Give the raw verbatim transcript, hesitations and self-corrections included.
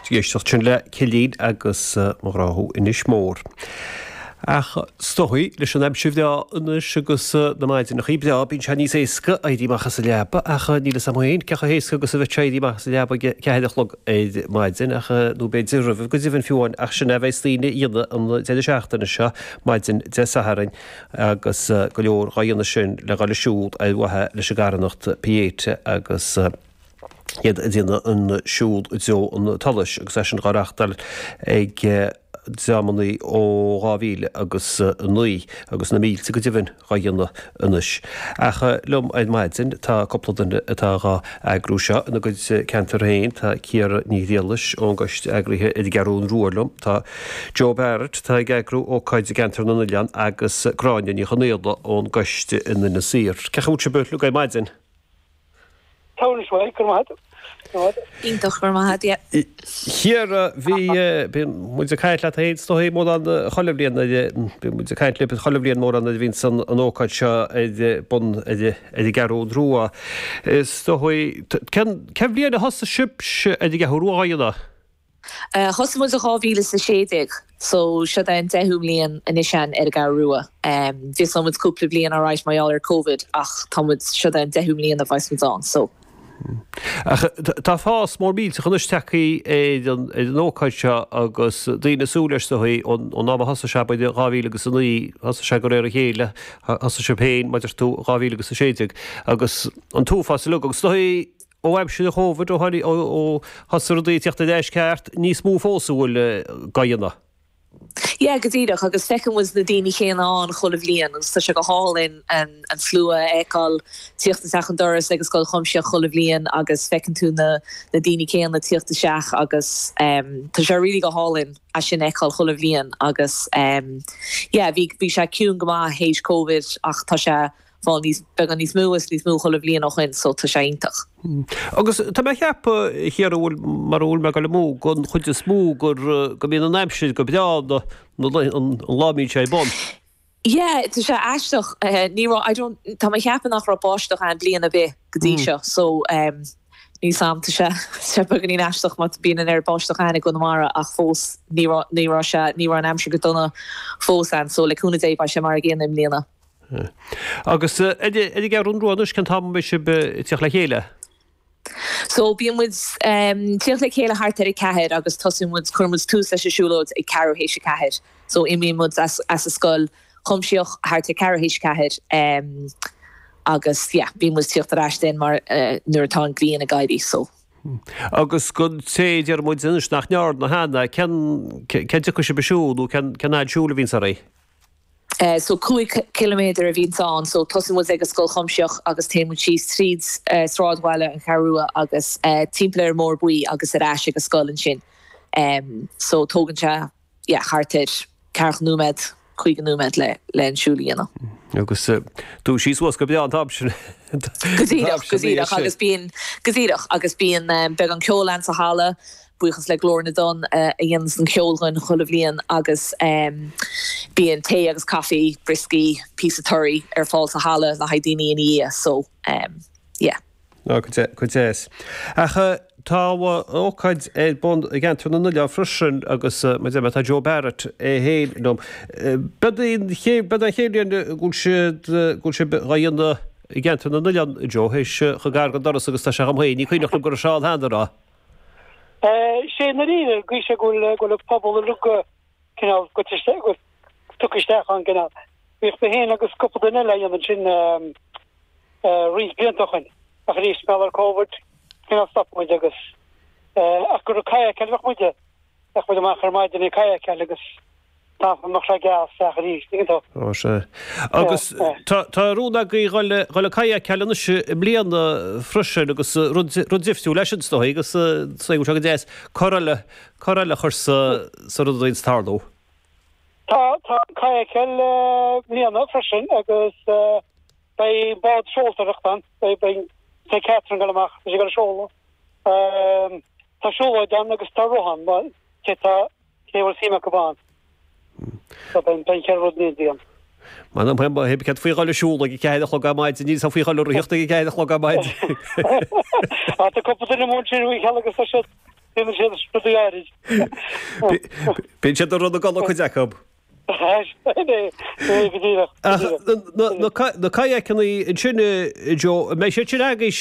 Ag éisteacht sin le Cillín agus Mo Ghrá Thú Inis Mór. Ach is dóigh leis an aimsir bhreá anois agus na maidineachaí breá bíonn sé níos éasca éirí amach as an leaba ach níl fhios a'm féin cé chomh héasca agus a bheadh sé éirí amach as an leaba ag ceathair a chlog ar maidin ach nó b'fhéidir roimhe go deimhin fiú amháin ach sin é a bheas daoine a dhéanamh an deireadh seachtaine seo maidin Dé Sathairn agus go leor dhá dhéanamh sin le dhul ag siúl ar mhaithe leis an gcarthanacht Pieta agus iad ag déanamh an siúl i dtreo an tsolais agus é sin dhá reachtáil ag dreamannaí ó dhá mhíle agus a naoi agus na mílte go deimhin dhá dhéanamh anois. Ach liom ar maidin tá cúpla duine atá dhá eagrú seo ina gcuid ceantar féin, tá Ciara Ní Ghriallais ón gcoiste eagraithe ar an gCeathrú Rua liom, tá Joe Barrett atá ag eagrú ócáid i gceantar na nOileán agus Gráinne Ní Chonaola ón gcoiste in Inis Oírr. Cén chaoi a bhfuil sibh uilig ar maidin? Tá sé go maith. Iontach go maith yeah. Ciara bhí bíonn muid ag caint leat féin is dóigh mórán chuile bhliain bíonn muid ag caint libh chuile bhliain mórán nuair a bhíonns an an ócáid seo ar bun ar ar an gCeathrú Rua. Is dóigh cén cén bhliain a thosaigh sibh ar an gCeathrú Rua á dhéanamh? Uh, Thosaigh muid i dhá mhíle is a sé déag, so seo é an deichiú bliain anois ar an gCeathrú Rua. Um, Bhí muid cúpla bliain ar mar gheall ar COVID ach tá muid seo é an deichiú bliain a bheas muid ann, so. Ach tá fás mór millteach anois tagtha ar an ar an ócáid seo agus daoine ag súil leis dóigh ón ón am a thosaigh sé b'fhéidir dhá mhíle agus a naoi thosaigh sé de réir a chéile thosaigh sibh féin mar a deir tú dhá mhíle agus a sé déag agus an t-uafás uilig agus dóigh ó aimsir an Covid ó tháinig ó ó thosaigh rudaí ag teacht ar ais ceart níos mó fós a bhfuil dhá dhéanamh. Yeah, go díreach agus feiceann muid na daoine céanna ann chuile bhliain agus tá sé go hálainn an an slua a fheiceáil tíocht isteach an doras agus Scoil Chuimsitheach chuile bhliain agus feiceann tú na na daoine céanna tíocht isteach agus um, tá sé really go hálainn é sin a fheiceáil chuile bhliain agus um, yeah, bhí bhí sé ciúin go maith théis COVID ach tá sé fáil níos beagán níos mó is níos mó chuile bhliain ó shin so tá sé iontach. Agus tá mé ag ceapadh a Chiara bhfuil mar bhfuil mé ag dul amú gon chuid is mó gur go mbíonn an aimsir go breá na an lá a mbíonn sé ar bun. Yeah, tá sé aisteach uh, ní raibh I don't tá mé ag ceapadh nach raibh báisteach ann bliain ar bith go dtí seo so um, ní sam tá sé sé beagáinín aisteach má bíonn an oiread báisteach ann i gConamara ach fós ní raibh ní raibh sé ní raibh an aimsir go dona fós ann so le cúnamh Dé beidh sé mar an gcéanna i mbliana. Agus ar an gCeathrú Rua anois cén t-am a mbeidh sibh ag tíocht le chéile? So bíonn muid um, tíocht le chéile thart ar a ceathair agus tosaíonn muid cuireann muid tús leis an siúlóid ag ceathrú théis a ceathair. So imíonn muid as, as an scoil chuimsitheach thart ar ceathrú théis a ceathair um, agus yeah, bíonn muid tíocht ar ais den mar uh, nuair atá an ghrian ag éirí so. Agus go té deir muid anois nach ndearna cheana cén cén dtiocfaidh sibh ag siúl nó cén cén fhad siúil a bhíonns oraibh? Uh, so cúig kilometer a bhíonn ann, so tosaíonn muid ag an scoil chuimsitheach agus téann muid síos tríd uh, sráidbhaile an Cheathrú Rua agus uh, timpeall ar an mBóthar Buí agus ar ais ag an scoil ansin. Um, so tógann sé yeah, thart ar ceathracha nóiméad caoga nóiméad le le an siúl a dhéanamh. Agus dúisíonn suas go breá an t-am sin. Go díreach go díreach agus bíonn go díreach agus bíonn um, beagán ceoil ann sa halla, buíochas le Glór na dTonn uh, a dhéanann an ceol dúinn chuile bhliain agus um, bíonn tae agus caife, brioscaí, píosa torthaí ar fáil sa halla le haghaidh daoine ina dhiaidh so um, yeah. Ná go deas. Ach tá ócáid ar bun i gceantar na nOileán freisin agus mar a deir mé tá Joe Barrett é féin liom. B'é an chéad bhliain go bhfuil siad go bhfuil sibh dhá dhéanamh i gceantar na nOileán Joe théis chomh gar don doras agus tá sé dhom féin, ní cuimhneach liom go raibh sé ann cheana rá. sé na rí go sé go go pobal lu cineál go tugtha isteach an cineál. Bhíodh mé féin agus cúpla duine eile dhéanamh sin roinnt blianta ó shin ach arís mar COVID cineál stop muid agus ach gur kayak bheadh muide bheadh muid amach ar maidin ag kayakáil agus tá nach sé geas ach arís tú. Ó sé. Agus tá tá rún agaibh dhul dhul ag kayakáil anois i mbliana freisin agus rud rud difriúil leis an dóigh agus sé go deas cor eile cor eile a chur sa sa rud a bhíonns tarlú. Tá tá kayakáil mbliana freisin agus beidh bád seoltóireacht ann beidh beidh beidh Catherine ag dul amach sé go seoladh. Tá siúlóid ann agus tá rith ann cé tá cé bhfuil suim acu ann. So beidh beidh ceithre rud ní ann. Man am ba heb cad faoi dul ag siúl ag ceathair a chlog ar maidin níl faoi dhul ag rith ag ceathair a chlog ar maidin. Á tá cúpla duine mó sin cheal agus tá siad Déanann siad rudaí áirid. Bíonn siad ag run a gcodladh cuid acu. Go díreach. Ach na kayakanna ansin, Joe, an mbeidh siad sin agaibhse